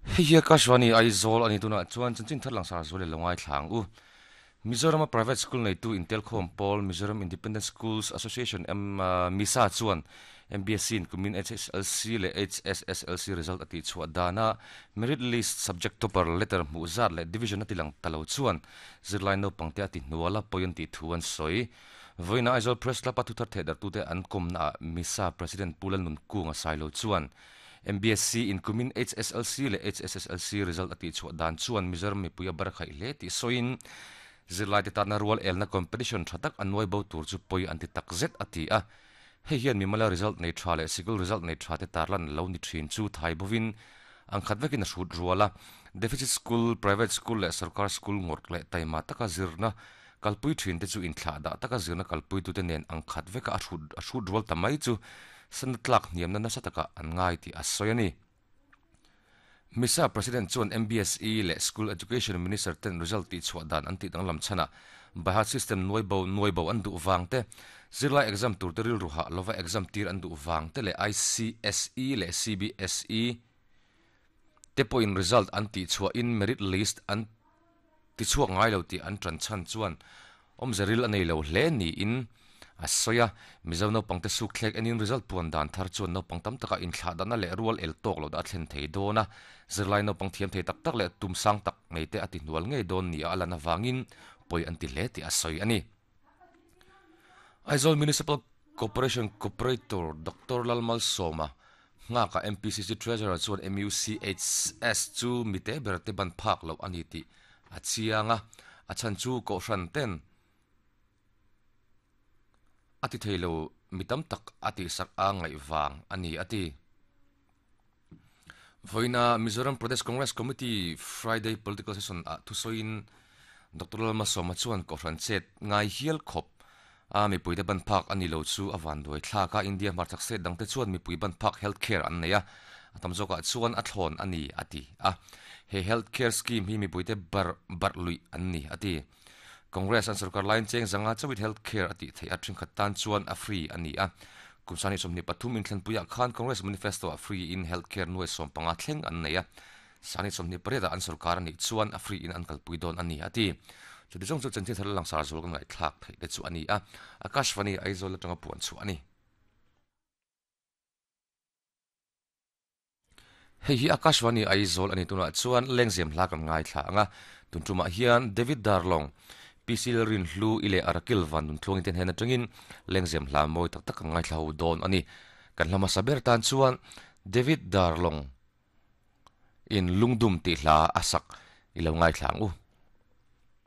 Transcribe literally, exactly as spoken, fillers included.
Hei Akashvani Aizawl ani tuna chuan chanchin thar langsar zual lo ngai thlang u Mizoram private school nei tu Intel Khom Paul Mizoram Independent Schools Association M MISA chuan M B S C in kumin H S L C le H S S L C result ati chhuah dana merit list subject topper letter hmuh zat le division ati lang talo chuan zirlai naupang te ati hnuala point ti thu an sawi voina Aizawl Press Club a thuthar theh dar tute an kawmna MISA President Pulan Nun Kunga Sailo chuan M B S C in kumin H S L C le H S S L C result ati chhuah dan chuan Mizoram mipui a bar khai hle ti sawiin zirlai te tana rual elna competition thatak annuai bo tur chu poi anti takzet ati a hei hian mimala result nei tha le sikul result nei tha te tarlan lo ni thin chu thai bovin ang khat vekin a hrut ruala deficit school private school le sarkar school ngor le taima taka zirna kalpui thin te chu in thla da taka zirna kalpui tu te nen ang khat veka a hrut a hrut rual tamai chu sanatlak niam na nasa taka an ngai ti a sawi MISA President chuan M B S E le School Education Minister ten result ti chhuah dan an ti danglam chana Bharat system nuai bo nuai bo an du wang te zirlai exam tur te ril ruha lova exam tir an du wang te le I C S E le C B S E te po in result an ti chhuah in merit list an ti chhuak ngai lo ti an tran chan chuan om zeril anei lo hle ni in a soya Mizo naupang te suk thlek enin result puan dan thar chuan naupang tam taka in thla dana le rual el tok lo da thlen thei dona zirlai naupang thiam thei tak tak le tum sang tak nei te ati hnual ngei don ni a alana wangin poi an ti hle ti a soi ani Aizawl Municipal Corporation Corporator Doctor Lalmal Soma nga ka M P C C Treasurer chuan M U C H S chu mite ber te ban phak lo ani ti a chianga a chan chu ko hran ten ati theilo mitam tak ati sak a ngai wang ani ati voina Mizoram Pradesh Congress Committee Friday political session a thusoin Doctor Lalma Soma chuan ko hran chet ngai hial khop a mi puite ban phak ani lo chu awan doi thla ka India marchak se dangte chuan mi pui ban phak healthcare an neia atam zoka chuan a thlon ani ati a he healthcare scheme hi mi puite bar bar lui an ni ati Congress an sarkar line cheng zanga chawit healthcare ati thei a thing khat tan chuan a free ani a kumsani somni pathum in thlanpuia khan Congress manifesto a free in healthcare nuai som panga thleng an neia sani somni pareda an sarkar ani chuan a free in an kalpui don ani ati chu ti chong chu chanchin thar lang sar zol kan ngai thlak thei te chu ani a Akashvani Aizawl atanga puan chu ani hei hi Akashvani Aizawl ani tuna chuan lengzem hla kan ngai thla anga tuntuma hian David Darlong P C Rin Hlu ile Arakil van nun thlong ten hen atangin lengzem hla moi tak tak ngai thla ho don ani kan hlama saber tan chuan David Darlong in lungdum ti hla asak ilo ngai thlang u.